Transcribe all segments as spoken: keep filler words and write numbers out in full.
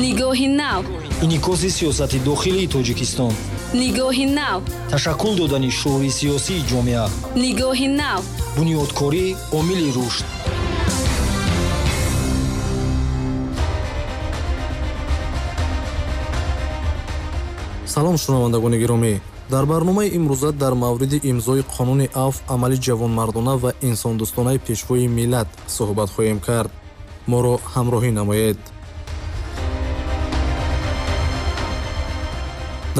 Нигоҳи нав. Инъикоси сиёсати дохилии Тоҷикистон. Нигоҳи нав. Ташаккул додани шуури сиёсии ҷомеа. Нигоҳи нав. Бунёдкорӣ омили рушд. Салом, шунавандагони гиромӣ. Дар барномаи имрӯза дар мавриди имзои қонуни афв амали ҷавонмардона ва инсондӯстонаи пешвои миллат суҳбат хоҳем кард. Моро ҳамроҳӣ намоед.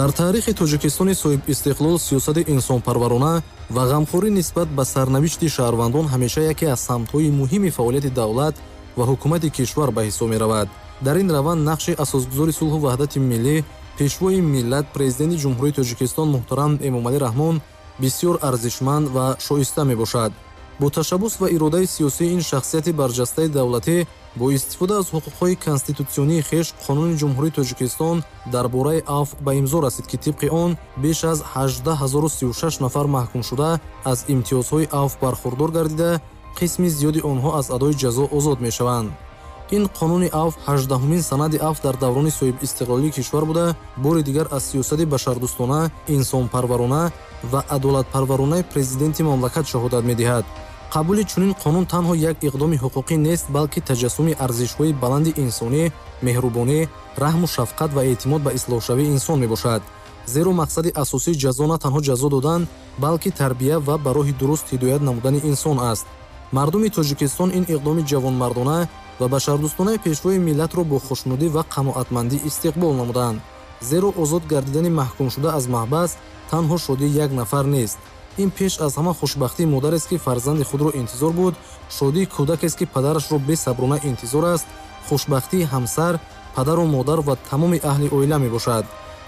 Дар таърихи Тоҷикистони соҳибистиқлол сиёсати инсонпарварона ва ғамхорӣ нисбат ба сарнавишти шаҳрвандон ҳамеша яке аз самтҳои муҳими фаъолияти давлат ва ҳукумати кишвар ба ҳисоб меравад. Дар ин раванд нақши асосгузори сулҳу ваҳдати миллӣ, пешвои миллат, президенти Ҷумҳурии Тоҷикистон муҳтарам Эмомалӣ Раҳмон бисёр арзишманд ва шоиста мебошад. Бо ташаббус ва иродаи сиёсии ин шахсияти барҷастаи давлатӣ бо истифода аз ҳуқуқҳои конститутсионии хеш Қонуни Ҷумҳурии Тоҷикистон дар бораи афв ба имзо расид, ки тибқи он беш аз ҳаждаҳ ҳазору сию шаш нафар маҳкумшуда аз имтиёзҳои афв бархурдор гардида, қисми зиёди онҳо аз адои ҷазо озод мешаванд. Ин қонуни афв ҳаждаҳумин санади афв дар даврони соҳибистиқлолии кишвар буда, бори дигар аз сиёсати башардӯстона, инсонпарварона ва адолатпарваронаи президенти мамлакат шаҳодат медиҳад. Қабули чунин қонун танҳо як иқдоми ҳуқуқӣ нест, балки таҷассуми арзишҳои баланди инсонӣ, меҳрубонӣ, раҳму шафқат ва эътимод ба ислоҳшавии инсон мебошад. Зеро мақсади асосии ҷазо на танҳо ҷазо додан, балки тарбия ва ба роҳи дуруст ҳидоят намудани инсон аст. Мардуми Тоҷикистон ин иқдоми ҷавонмардона ва башардӯстонаи пешвои миллатро бо хушнудӣ ва қаноатмандӣ истиқбол намуданд. Зеро озод гардидани маҳкумшуда аз маҳбас танҳо шодии як нафар нест. Ин пеш аз ҳама хушбахтии модарест, ки фарзанди худро интизор буд, шодии кӯдакест, ки падарашро бесаброна интизор аст, хушбахтии ҳамсар, падару модар ва тамоми аҳли оила мебошад.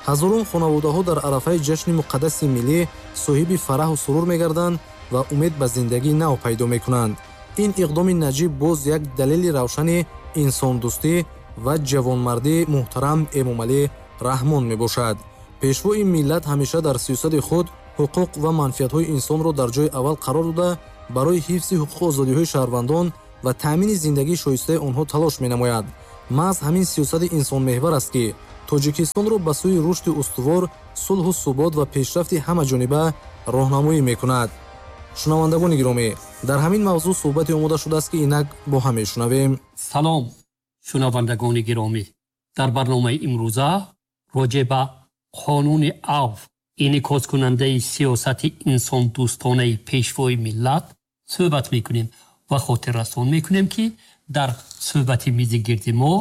Ҳазорон хонаводаҳо дар арафаи ҷашни муқаддаси миллӣ соҳиби фараҳу сурур мегарданд ва умед ба зиндагии нав пайдо мекунанд. Ин иқдоми наҷиб боз як далели равшани инсондӯстӣ ва ҷавонмардии муҳтарам Эмомалӣ Раҳмон мебошад. Пешвои миллат ҳамеша дар сиёсати худ ҳуқуқ ва манфиатҳои инсонро дар ҷои аввал қарор дода, барои ҳифзи ҳуқуқу озодиҳои шаҳрвандон ва таъмини зиндагии шоистаи онҳо талош менамояд. Маҳз ҳамин сиёсати инсонмеҳвар аст, ки Тоҷикистонро ба сӯи рушди устувор, сулҳу субот ва пешрафти ҳамаҷониба роҳнамоӣ мекунад. Шунавандагони гиромӣ, дар ҳамин мавзӯъ суҳбате омода шудааст, ки инак бо ҳам мешунавем. Салом, шунавандагони гиромӣ. Дар барномаи имрӯза роҷеъ ба қонуни афв, инъикоскунандаи сиёсати инсондӯстонаи пешвои миллат суҳбат мекунем ва хотиррасон мекунем, ки дар суҳбати мизи гирди мо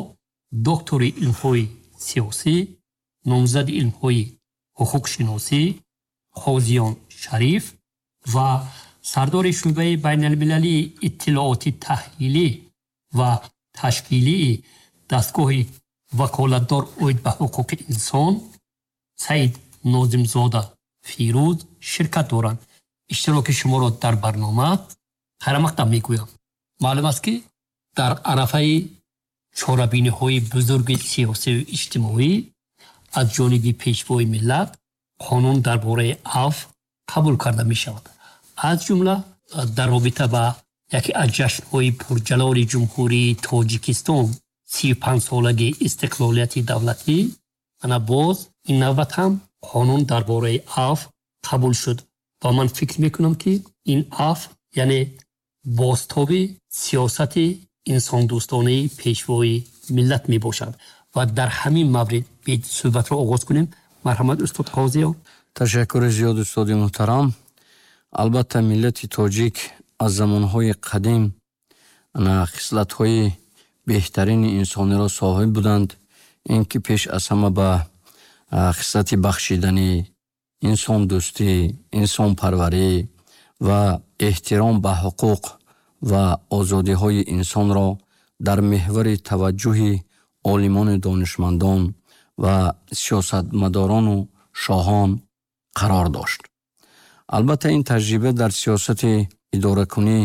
доктори илмҳои сиёсӣ, номзади илмҳои ҳуқуқшиносӣ Қозиён Шариф ва сардори шӯъбаи байналмилалии иттилооти таҳлилӣ ва ташкилии дастгоҳи ваколатдор оид ба ҳуқуқи инсон Саид Нозимзода Фирӯз ширкат доранд. Иштироки шуморо дар барнома хайрамақдам мегӯям. Маълум аст, ки дар арафаи чорабиниҳои бузурги сиёсию иҷтимоӣ аз ҷониби пешвои миллат қонун дар бораи афв қабул карда мешавад. Аз ҷумла дар робита ба яке аз ҷашнҳои пурҷалоли Ҷумҳурии Тоҷикистон сию панҷсолагии истиқлолияти давлатӣ, ана боз ин навбат ҳам қонун дар бораи афв қабул шуд ва ман фикр мекунам, ки ин афв яъне бозтоби сиёсати инсондӯстонаи пешвои миллат мебошад ва дар ҳамин маврид бид суҳбатро оғоз кунем. Марҳамат, устод Қозиён. Ташаккури зиёд, устоди муҳтарам. Албатта, миллати тоҷик аз замонҳои қадим хислатҳои беҳтарини инсониро соҳиб буданд. Ин ки пеш аз ҳама ба хислати бахшиданӣ, инсондӯстӣ, инсонпарварӣ ва эҳтиром ба ҳуқуқ ва озодиҳои инсонро дар меҳвари таваҷҷӯҳи олимону донишмандон ва сиёсатмадорону шоҳон қарор дошт. Албатта, ин таҷриба дар сиёсати идоракунӣ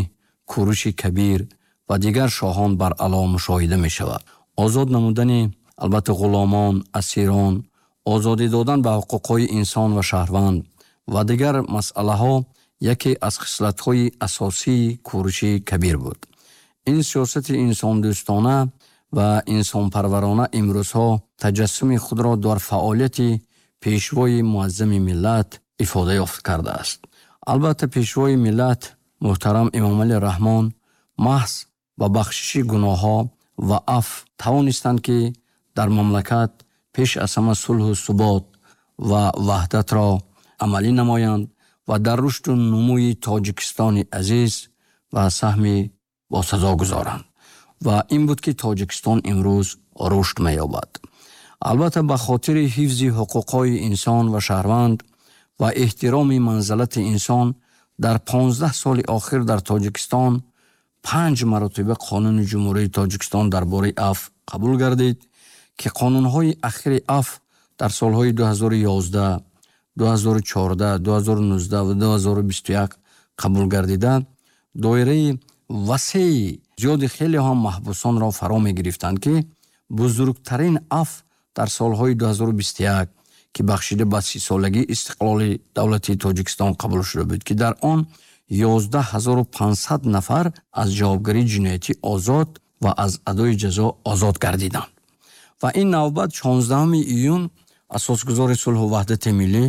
Куруши Кабир ва дигар шоҳон баръало мушоҳида мешавад. Озод намудани албатта ғуломон, асирон, озодӣ додан ба ҳуқуқҳои инсон ва шаҳрванд ва дигар масъалаҳо яке аз хислатҳои асосии Куруши Кабир буд. Ин сиёсати инсондӯстона ва инсонпарварона имрӯзҳо таҷассуми худро дар фаъолияти пешвои муаззами миллат ифода ёфт кардааст. Албатта, пешвои миллат муҳтарам Эмомалӣ Раҳмон маҳз ба бахшиши гуноҳҳо ва афв тавонистанд, ки дар мамлакат пеш аз ҳама сулҳу субот ва ваҳдатро амалӣ намоянд ва дар рушду нумӯи Тоҷикистони азиз ва саҳми босазо гузоранд. Ва ин буд, ки Тоҷикистон имрӯз рушд меёбад. Албатта, ба хотири ҳифзи ҳуқуқҳои инсон ва шаҳрванд ва эҳтироми манзалати инсон дар понздаҳ соли охир дар Тоҷикистон панҷ маротиба Қонуни Ҷумҳурии Тоҷикистон дар бораи афв қабул гардид, ки қонунҳои ахири афв дар солҳои ду ҳазору ёздаҳ, ду ҳазору чордаҳ, ду ҳазору нуздаҳ ва ду ҳазору бисту як қабул гардида, доираи васеи зиёди хеле ҳам маҳбусонро фаро мегирифтанд, ки бузургтарин афв дар солҳои ду ҳазору бисту як, ки бахшида ба сисолагии истиқлоли давлати Тоҷикистон қабул шуда буд, ки дар он ёздаҳ ҳазору панҷсад нафар аз ҷавобгарии ҷиноятӣ озод ва аз адои ҷазо озод гардиданд. Ва ин навбат шонздаҳуми июн асосгузори сулҳу ваҳдати миллӣ,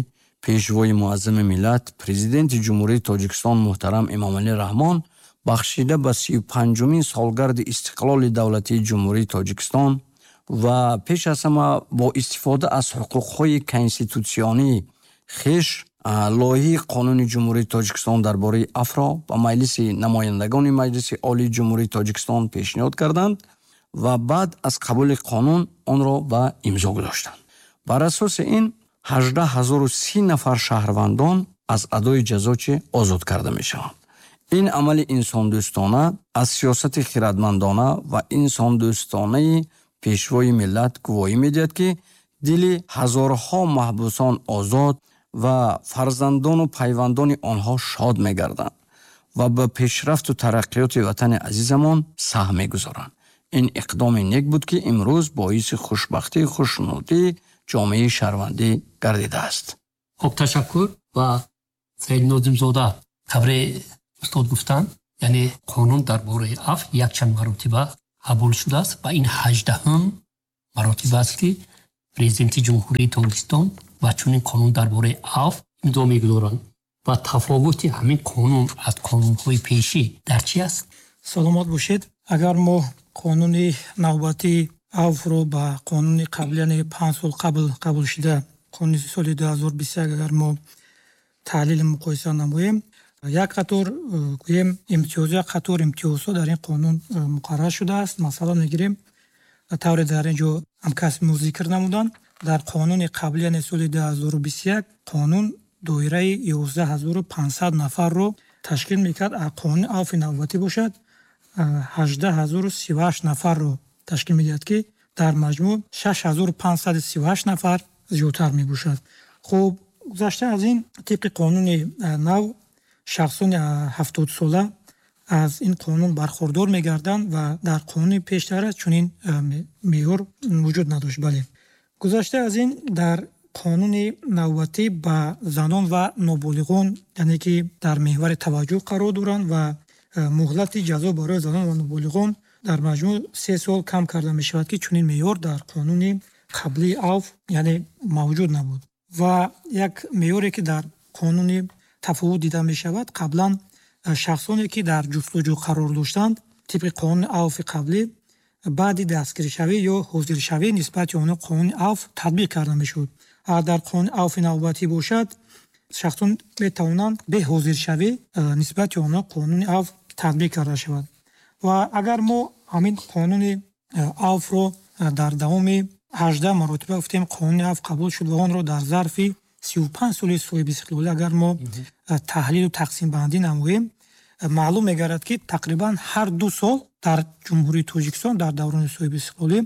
пешвои муаззами миллат, президенти Ҷумҳурии Тоҷикистон муҳтарам Эмомалӣ Раҳмон бахшида ба сию панҷумин солгарди истиқлоли давлатии Ҷумҳурии Тоҷикистон ва пеш аз ҳама бо истифода аз ҳуқуқҳои конститутсионии хеш лоиҳаи Қонуни Ҷумҳурии Тоҷикистон дар бораи афвро ба Маҷлиси намояндагони Маҷлиси Олии Ҷумҳурии Тоҷикистон пешниҳод карданд ва баъд аз қабули қонун онро ба имзо гузоштанд. Бар асоси ин ҳаждаҳ ҳазору си нафар шаҳрвандон аз адои ҷазо чӣ озод карда мешаванд. Ин амали инсондӯстона аз сиёсати хирадмандона ва инсондӯстонаи пешвои миллат гувоҳӣ медиҳад, ки дили ҳазорҳо маҳбусон озод ва фарзандону пайвандони онҳо шод мегарданд ва ба пешрафту тараққиёти ватани азизамон саҳм мегузоранд. Ин иқдоми нек буд, ки имрӯз боиси хушбахтию хушнудии ҷомеаи шаҳрвандӣ гардидааст. Хуб, ташаккур. Ва Саид Нозимзода, тавре устод гуфтанд, яъне қонун дар бораи афв якчанд маротиба қабул шудааст ва ин ҳаждаҳум маротиба аст, ки президенти Ҷумҳурии Тоҷикистон ва чунин қонун дар бораи афв имзо мегузоранд. Ва тафовути ҳамин қонун аз қонунҳои пешӣ дар чи аст? Саломат бошед. Агар мо қонуни навбатии афвро ба қонуни қабл, яъне панҷ сол қабл қабул шуда, қонуни соли ду ҳазору бисту як, агар мо таҳлили муқоиса намоем, як қатор гӯем имтиёз, як қатор имтиёзҳо дар ин қонун муқаррар шудааст. Масалан мегирем, тавре дар ин ҷо ҳамкасби мо зикр намуданд, дар қонуни қабл, яъне соли ду ҳазору бисту як, қонун доираи ёздаҳ ҳазору панҷсад нафарро ташкил мекард. Қонуни афви навбатӣ бошад ҳаждаҳ ҳазору сию ҳашт нафарро ташкил медиҳад, ки дар маҷмӯъ шаш ҳазору панҷсаду сию ҳашт нафар зиёдтар мебошад. Хуб, гузашта аз ин, тибқи қонуни нав шахсони ҳафтодсола аз ин қонун бархурдор мегарданд ва дар қонуни пештара чунин меъёр вуҷуд надошт. Бале, гузашта аз ин, дар қонуни навбатӣ ба занон ва ноболиғон, яъне ки дар меҳвари таваҷҷӯҳ қарор доранд ва муҳлати ҷазо барои занон ва ноболиғон дар маҷмӯъ се сол кам карда мешавад, ки чунин меъёр дар қонуни қаблии афв яъне мавҷуд набуд. Ва як меъёре, ки дар қонуни тафовут дида мешавад, қаблан шахсоне, ки дар ҷустуҷӯ қарор доштанд, тибқи қонуни афви қаблӣ баъди дастгиришавӣ ё ҳозиршавӣ нисбати онҳо қонуни афв татбиқ карда мешуд. Дар қонуни афви навбатӣ бошад, шахсон метавонанд бе ҳозиршавӣ нисбати онҳо қонуни афв татбиқ карда шавад. Ва агар мо ҳамин қонуни афвро дар давоми ҳаждаҳ маротиба гуфтем қонуни афв қабул шуд ва онро дар зарфи сию панҷ соли соҳибистиқлолӣ агар мо таҳлилу тақсимбандӣ намоем, маълум мегардад, ки тақрибан ҳар ду сол дар Ҷумҳурии Тоҷикистон дар даврони соҳибистиқлолӣ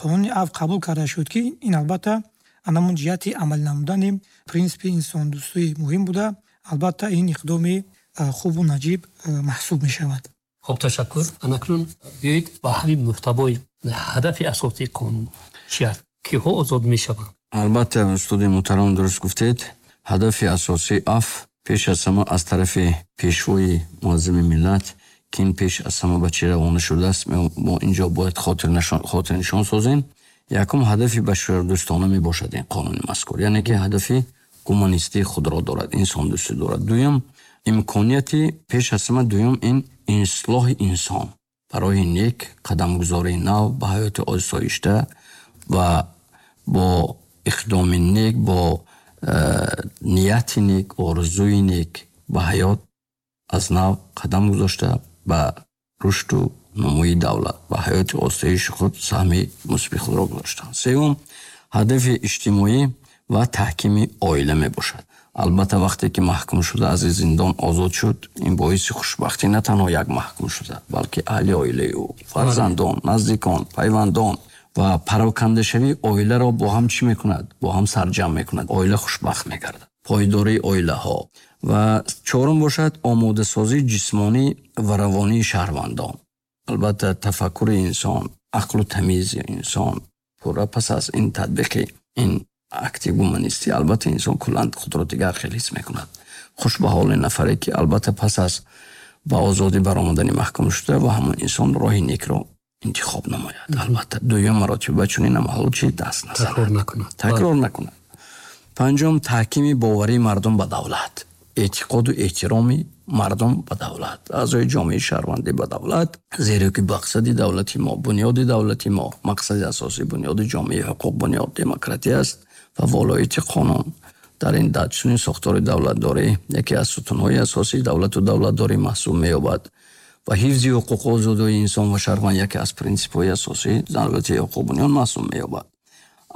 қонуни афв қабул карда шуд, ки ин албатта анамун ҷиҳати амалӣ намудани принсипи инсондӯстӣ муҳим буда, албатта ин иқдоми хубу наҷиб маҳсуб мешавад. Хуб, ташаккур. Анакнун биёед ба ҳамин муҳтавои ҳадафи асосии қонун чи аст? Киҳо озод мешаванд? Албатта, устоди муҳтарам, дуруст гуфтед. Ҳадафи асосии афв пеш аз ҳама аз тарафи пешвои муаззами миллат, Ки ин пеш аз ҳама ба чӣ равона шудааст, мо инҷо бояд хотирнишон созем. Якум ҳадафи башардӯстона мебошад ин қонуни мазкур, яъне ки ҳадафи гуманистии худро дорад, инсондӯстӣ дорад. Дуюм, имконияти пеш аз ҳама дуюм ин ислоҳи инсон барои нек, қадамгузории нав ба ҳаёти осоишта ва бо иқдоми нек, бо нияти нек, орзуи нек ба ҳаёт аз нав қадам гузошта ба рушду нумӯи давлат, ба ҳаёти осоиши худ саҳми мусбии худро гузоштанд. Сеюм, ҳадафи иҷтимоӣ ва таҳкими оила мебошад. Албатта вақте ки маҳкум шуда аз зиндон озод шуд, ин боиси хушбахтӣ на танҳо як маҳкум шуда, балки аҳли оилаи ӯ, фарзандон, наздикон, пайвандон ва парокандашавии оиларо бо ҳам чӣ мекунад? Бо ҳам сарҷамъ мекунад. Оила хушбахт мегардад. Пойдории оилаҳо. Ва чорум бошад омодасозии ҷисмонӣ ва равонии шаҳрвандон. Албатта тафаккури инсон, ақлу тамизи инсон пурра пас аз ин татбиқи ин акти гуманистӣ албатта инсон куллан худро дигар хел ҳис мекунад. Хуш ба ҳоли нафаре ки албатта пас аз ба озодӣ баромадани маҳкум шуда ва ҳамон инсон роҳи некро интихоб намояд. Албатта дуюм маротиба чунин амалҳо чи даст назанад, такрор накунад. Такрор накунад. Панҷум, таҳкими боварии мардум ба давлат, эътиқоду эҳтироми мардум ба давлат, аъзои ҷомеаи шаҳрвандӣ ба давлат, зеро ки мақсади давлати мо, бунёди давлати мо, мақсади асосии бунёди ҷомеаи ҳуқуқ, бунёд демократия аст ва волоияти қонун. Дар ин чунин сохтори давлатдорӣ яке аз сутунҳои асосии давлату давлатдорӣ маҳсуб меёбад ва ҳифзи ҳуқуқу озодии инсон ва шаҳрванд яке аз принсипҳои асосии давлати ҳуқуқбунёд маҳсуб меёбад.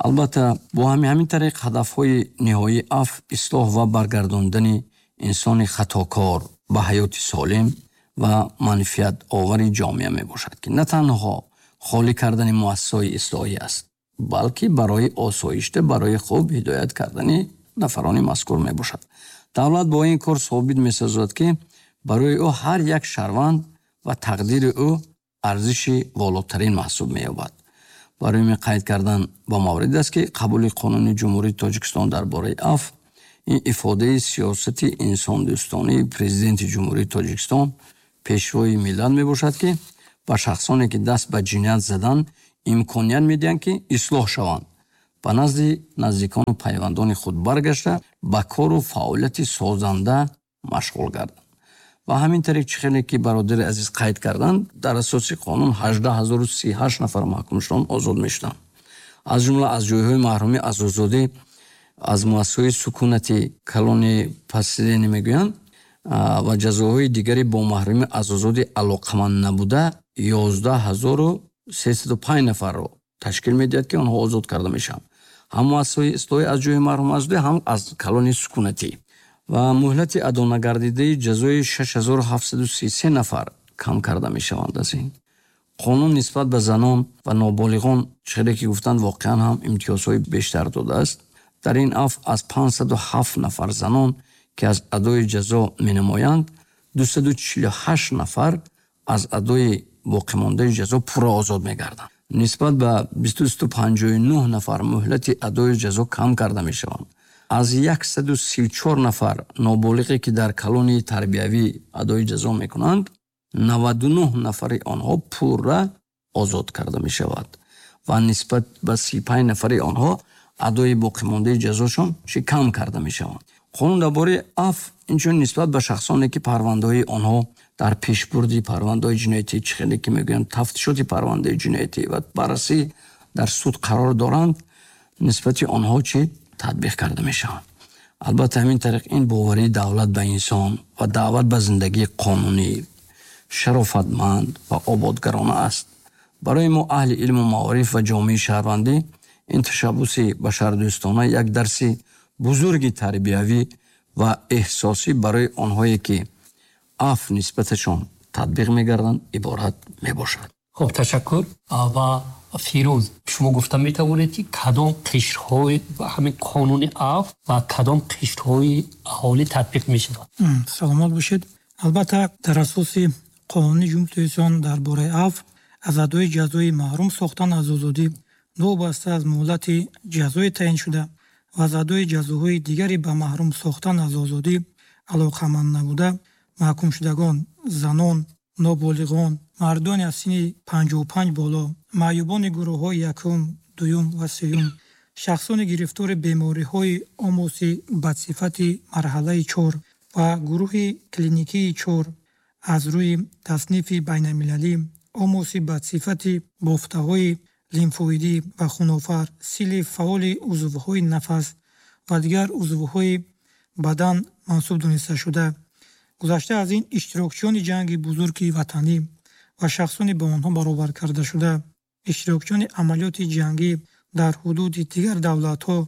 Албатта бо ҳамин тариқ ҳадафҳои ниҳоии афв, ислоҳ ва баргардондани инсони хатокор ба ҳаёти солим ва манфиатовари ҷомеа мебошад, ки на танҳо холӣ кардани муассисаҳои ислоҳӣ аст, балки барои осоишта, барои хуб ҳидоят кардани нафарони мазкур мебошад. Давлат бо ин кор собит месозад, ки барои ӯ ҳар як шаҳрванд ва тақдири ӯ арзиши волотарин маҳсуб меёбад. Барои ин қайд кардан ба маврид аст, ки қабули қонуни Ҷумҳурии Тоҷикистон дар бораи афв ин ифодаи сиёсати инсондӯстонии президенти Ҷумҳурии Тоҷикистон, пешвои миллат мебошад, ки ба шахсоне ки даст ба ҷиноят заданд имконият медиҳанд, ки ислоҳ шаванд, ба назди наздикону пайвандони худ баргашта ба кору фаъолияти созанда машғул гарданд. Ва ҳамин тариқ чӣ хеле ки бародари азиз қайд карданд, дар асоси қонун ҳаждаҳ ҳазору си ҳашт нафар маҳкумшудон озод мешуданд. Аз ҷумла аз ҷойҳои маҳрумӣ аз озодӣ, аз муассисаҳои сукунати калони пасидени мегӯянд ва ҷазоҳои дигаре бо маҳрумӣ аз озодӣ алоқаманд набуда ёздаҳ ҳазору сесаду панҷ нафарро ташкил медиҳад, ки онҳо озод карда мешаванд. Ҳам муассисаҳои ислоҳӣ аз ҷойи маҳрумӣ аз озодӣ, ҳам аз калони сукунатӣ. Ва муҳлати адонагардидаи ҷазои шаш ҳазору ҳафтсаду си се нафар кам карда мешаванд аз ин. Қонун нисбат ба занон ва ноболиғон, чизе ки гуфтанд, воқеан ҳам имтиёзҳои бештар додааст. Дар ин афв аз панҷсаду ҳафт нафар занон, ки аз адои ҷазо менамоянд, дусаду чилу ҳашт нафар аз адои боқимондаи ҷазо пурра озод мегарданд. Нисбат ба бисту панҷоҳу нӯҳ нафар муҳлати адои ҷазо кам карда мешаванд. Аз яксаду сию чор нафар ноболиғе, ки дар колонияи тарбиявӣ адои ҷазо мекунанд, наваду нӯҳ нафари онҳо пурра озод карда мешавад ва нисбат ба си панҷ нафари онҳо адои боқимондаи ҷазошон чӣ кам карда мешаванд. Қонун дар бораи афв инчунин нисбат ба шахсоне, ки парвандаҳои онҳо дар пешбурди парвандаҳои ҷиноятӣ, чӣ хеле ки мегӯянд, тафтишоти парвандаи ҷиноятӣ ва баррасӣ дар суд қарор доранд, нисбати онҳо чӣ татбиқ карда мешаванд. Албатта ҳамин тариқ ин боварии давлат ба инсон ва даъват ба зиндагии қонунӣ, шарофатманд ва ободгарона аст. Барои мо аҳли илму маориф ва ҷомеаи шаҳрвандӣ ин ташаббуси башардӯстона як дарси бузурги тарбиявӣ ва эҳсосӣ барои онҳое ки афв нисбаташон татбиқ мегарданд иборат мебошад. Хуб, ташаккур. Ва Фирӯз, шумо гуфта метавонед, ки кадом қишрҳои ҳамин қонуни афв ва кадом қишрҳои аҳолӣ татбиқ мешавад? Саломат бошед. Албатта дар асоси қонуни Ҷумҳурии Тоҷикистон дар бораи афв аз адои ҷазои маҳрум сохтан аз озодӣ новобаста аз муҳлати ҷазои таъиншуда ва аз адои ҷазоҳои дигаре ба маҳрум сохтан аз озодӣ алоқаманд набуда маҳкумшудагон, занон, Ноболиғон, мардони аз синни панҷоҳу панҷ боло, маъюбони гурӯҳҳои якум, дуюм ва сеюм, шахсони гирифтори бемориҳои омоси бадсифати марҳалаи чор ва гурӯҳи клиникии чор аз рӯи таснифи байналмилалӣ, омоси бадсифати бофтаҳои лимфоидӣ ва хунофар, сили фаъоли узвҳои нафас ва дигар узвҳои бадан мансуб дониста шуда. Гузашта аз ин, иштирокчиёни ҷанги бузурги ватанӣ ва шахсони ба онҳо баробар карда шуда, иштирокчиёни амалиёти ҷангӣ дар ҳудуди дигар давлатҳо,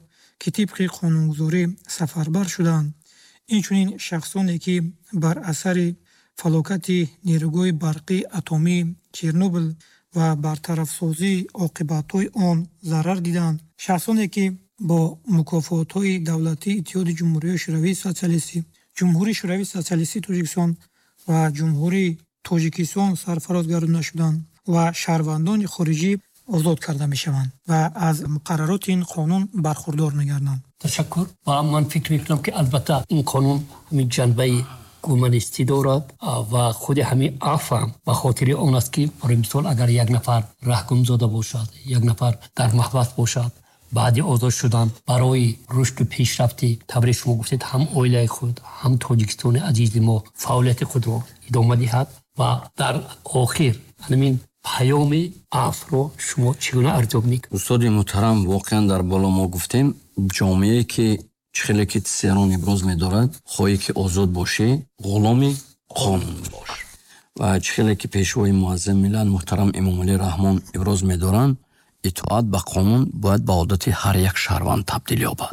ки тибқи қонунгузорӣ сафарбар шуданд, инчунин шахсоне, ки бар асари фалокати нерӯгоҳи барқии атомии Чернобил ва бартарафсозии оқибатҳои он зарар диданд, шахсоне, ки бо мукофотҳои давлатии Иттиҳоди Ҷумҳуриҳои Шӯравии Сотсиалистӣ, Ҷумҳурии Шӯравии Сотсиалистии Тоҷикистон ва Ҷумҳурии Тоҷикистон сарфароз гардонида шуданд ва шаҳрвандони хориҷӣ озод карда мешаванд ва аз муқаррароти ин қонун бархурдор мегарданд. Ташаккур. Ва ман фикр мекунам, ки албатта ин қонун ҳамин ҷанбаи гуманистӣ дорад ва худи ҳамин афв ҳам ба хотири он аст, ки барои мисол агар як нафар раҳгумзода бошад, як нафар дар маҳбас бошад, баъди озод шудан барои рушду пешрафти, тавре шумо гуфтед, ҳам оилаи худ, ҳам Тоҷикистони азизи мо фаъолияти худро идома диҳад. Ва дар охир ҳамин паёми афвро шумо чӣ гуна арзёбӣ мекунед? Устоди муҳтарам, воқеан дар боло мо гуфтем, ҷомеае ки чӣ хеле ки Тсерон иброз медорад, хоҳӣ ки озод бошӣ, ғуломи қонун бош. Ва чӣ хеле ки пешвои муаззами миллат муҳтарам Эмомалӣ Раҳмон иброз медоранд, итоат ба қонун бояд ба одати ҳар як шаҳрванд табдил ёбад,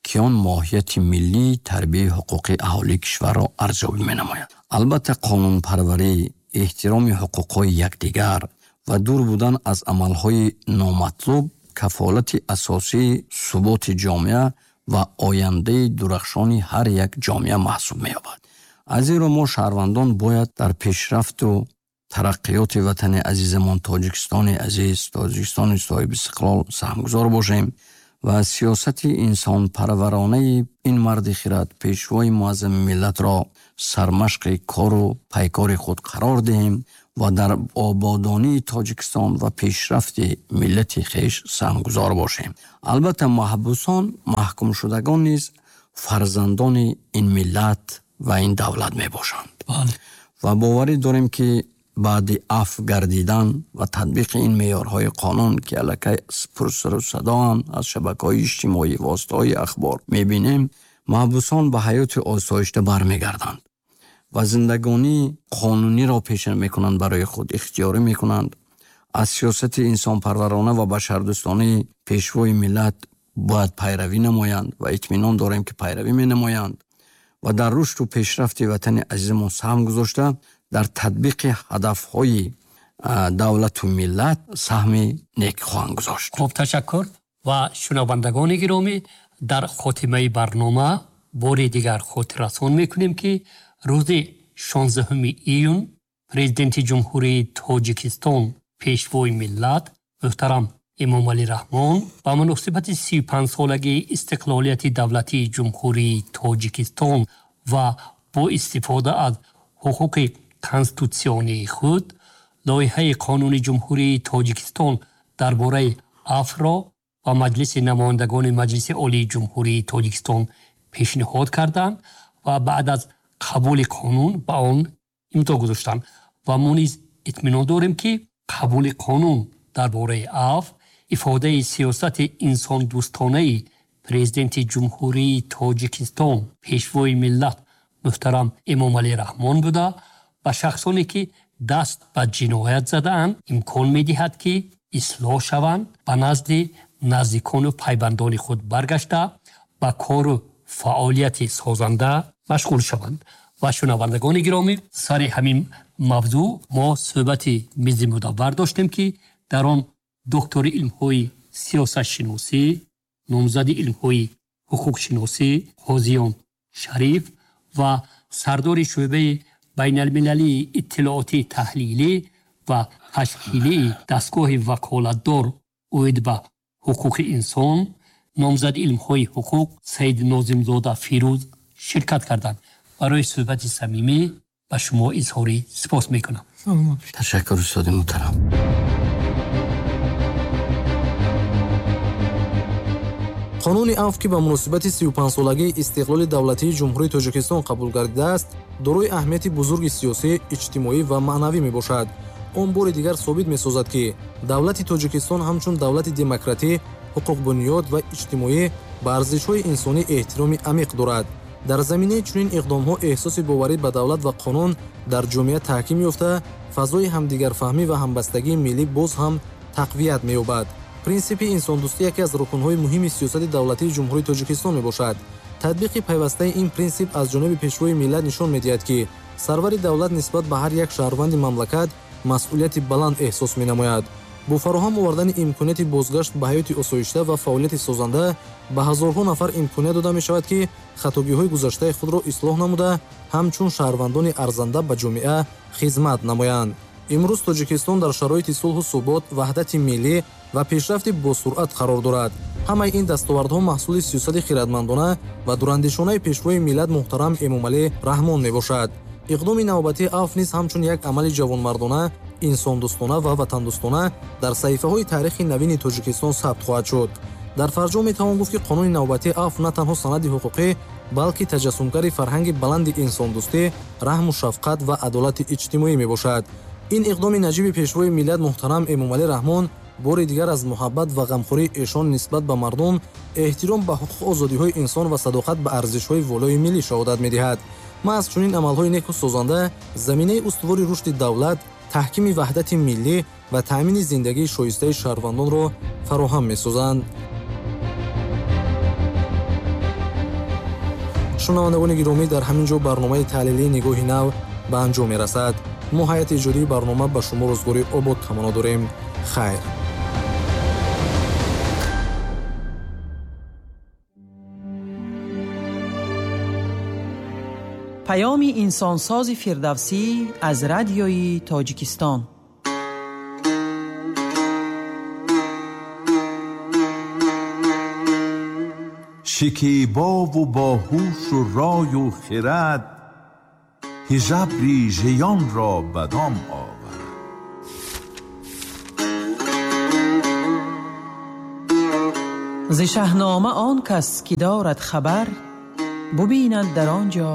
ки он моҳияти миллии тарбияи ҳуқуқии аҳолии кишварро арзёбӣ менамояд. Албатта қонунпарварӣ, эҳтироми ҳуқуқҳои якдигар ва дур будан аз амалҳои номатлуб кафолати асосии суботи ҷомеа ва ояндаи дурахшони ҳар як ҷомеа маҳсуб меёбад. Аз ин рӯ мо шаҳрвандон бояд дар пешрафту тараққиёти ватани азизамон Тоҷикистони азиз, Тоҷикистони соҳиби истиқлол саҳмгузор бошем ва сиёсати инсонпарваронаи ин марди хирад, пешвои муаззами миллатро сармашқи кору пайкори худ қарор диҳем ва дар ободонии Тоҷикистон ва пешрафти миллати хеш саҳмгузор бошем. Албатта маҳбусон, маҳкумшудагон низ фарзандони ин миллат ва ин давлат мебошанд. Ва боварӣ дорем, ки баъди афв гардидан ва татбиқи ин меъёрҳои қонун, ки аллакай пурсару садоанд аз шабакаҳои иҷтимоӣ, воситаҳои ахбор мебинем, маҳбусон ба ҳаёти осоишта бармегарданд ва зиндагонии қонуниро пеша мекунанд, барои худ ихтиёрӣ мекунанд. Аз сиёсати инсонпарварона ва башардӯстонаи пешвои миллат бояд пайравӣ намоянд ва итминон дорем, ки пайравӣ менамоянд ва дар рушду пешрафти ватани азизамон саҳм гузошта, дар татбиқи ҳадафҳои давлату миллат саҳми нек хоҳанд гузошт. Хуб, ташаккур. Ва шунавандагони гиромӣ, дар хотимаи барнома бори дигар хотиррасон мекунем, ки рӯзи шонздаҳуми июн Президенти Ҷумҳурии Тоҷикистон, пешвои миллат муҳтарам Эмомалӣ Раҳмон ба муносибати сию панҷсолагии истиқлолияти давлатии Ҷумҳурии Тоҷикистон ва бо истифода аз ҳуқуқи конститутсионии худ лоиҳаи қонуни Ҷумҳурии Тоҷикистон дар бораи афвро ба Маҷлиси намояндагони Маҷлиси Олии Ҷумҳурии Тоҷикистон пешниҳод карданд ва баъд аз қабули қонун ба он имзо гузоштанд. Ва мо низ итминон дорем, ки қабули қонун дар бораи афв ифодаи сиёсати инсондӯстонаи Президенти Ҷумҳурии Тоҷикистон, пешвои миллат муҳтарам Эмомалӣ Раҳмон буда, ба шахсоне, ки даст ба ҷиноят задаанд, имкон медиҳад, ки ислоҳ шаванд, ба назди наздикону пайвандони худ баргашта, ба кору фаъолияти созанда машғул шаванд. Ва шунавандагони гиромӣ, сари ҳамин мавзӯъ мо суҳбати мизи мудаввар доштем, ки дар он доктори илмҳои сиёсатшиносӣ, номзади илмҳои ҳуқуқшиносӣ Қозиён Шариф ва сардори шӯъбаи байналмилалии иттилоотӣ таҳлилӣ ва ташкилии дастгоҳи ваколатдор оид ба ҳуқуқи инсон, номзади илмҳои ҳуқуқ Саид Нозимзода Фирӯз ширкат карданд. Барои суҳбати самимӣ Ба шумо изҳори сипос мекунам. Ташаккур, устоди муҳтарам. Қонуни Авф, ки ба муносибати сию панҷсолагии истиқлоли давлатии Ҷумҳурии Тоҷикистон қабул гардидааст, дорои аҳамияти бузурги сиёсӣ, иҷтимоӣ ва маънавӣ мебошад. Он бори дигар собит месозад, ки давлати Тоҷикистон ҳамчун давлати демократӣ, ҳуқуқбунёд ва иҷтимоӣ ба арзишҳои инсонӣ эҳтироми амиқ дорад. Дар заминаи чунин иқдомҳо эҳсоси боварӣ ба давлат ва қонун дар ҷомеа таҳким ёфта, фазои ҳамдигарфаҳмӣ ва ҳамбастагии миллӣ боз ҳам тақвият меёбад. Принсипи инсондӯстӣ яке аз рукнҳои муҳими сиёсати давлатии Ҷумҳурии Тоҷикистон мебошад. Татбиқи пайвастаи ин принсип аз ҷониби пешвои миллат нишон медиҳад, ки сарвари давлат нисбат ба ҳар як шаҳрванди мамлакат масъулияти баланд эҳсос менамояд. Бо фароҳам овардани имконияти бозгашт ба ҳаёти осоишта ва фаъолияти созанда ба ҳазорҳо нафар имконият дода мешавад, ки хатогиҳои гузаштаи худро ислоҳ намуда, ҳамчун шаҳрвандони арзанда ба ҷомеа хизмат намоянд. Имрӯз Тоҷикистон дар шароити сулҳу субот, ваҳдати миллӣ ва пешрафти босуръат қарор дорад. Ҳамаи ин дастовардҳо маҳсули сиёсати хирадмандона ва дурандешонаи пешвои миллат муҳтарам Эмомалӣ Раҳмон мебошад. Иқдоми навбатии Авф низ ҳамчун як амали ҷавонмардона, инсондӯстона ва ватандӯстона дар саҳифаҳои таърихи навини Тоҷикистон сабт хоҳад шуд. Дар фарҷом метавон гуфт, ки қонуни навбатии Авф на танҳо санади ҳуқуқӣ, балки таҷассумгари фарҳанги баланди инсондӯстӣ, раҳму шафқат ва адолати иҷтимоӣ мебошад. Ин иқдоми наҷиби пешвои миллат муҳтарам Эмомалӣ Раҳмон бори дигар аз муҳаббат ва ғамхории эшон нисбат ба мардум, эҳтиром ба ҳуқуқу озодиҳои инсон ва садоқат ба арзишҳои волои миллӣ шаҳодат медиҳад. Маҳз чунин амалҳои неку созанда заминаи устувори рушди давлат, таҳкими ваҳдати миллӣ ва таъмини зиндагии шоистаи шаҳрвандонро фароҳам месозанд. Шунавандагони гиромӣ, дар ҳамин ҷо барномаи таҳлилии Нигоҳи нав ба анҷом мерасад. Мо ҳайати иҷодии барнома ба шумо рӯзгори обод таманно дорем. Хайр. Паёми инсонсози Фирдавсӣ аз радиои Тоҷикистон. Шикебову боҳушу рою хирад, ҳижабри жиёнро ба дом овард. Зи шаҳнома он кас ки дорад хабар, бубинад дар он ҷо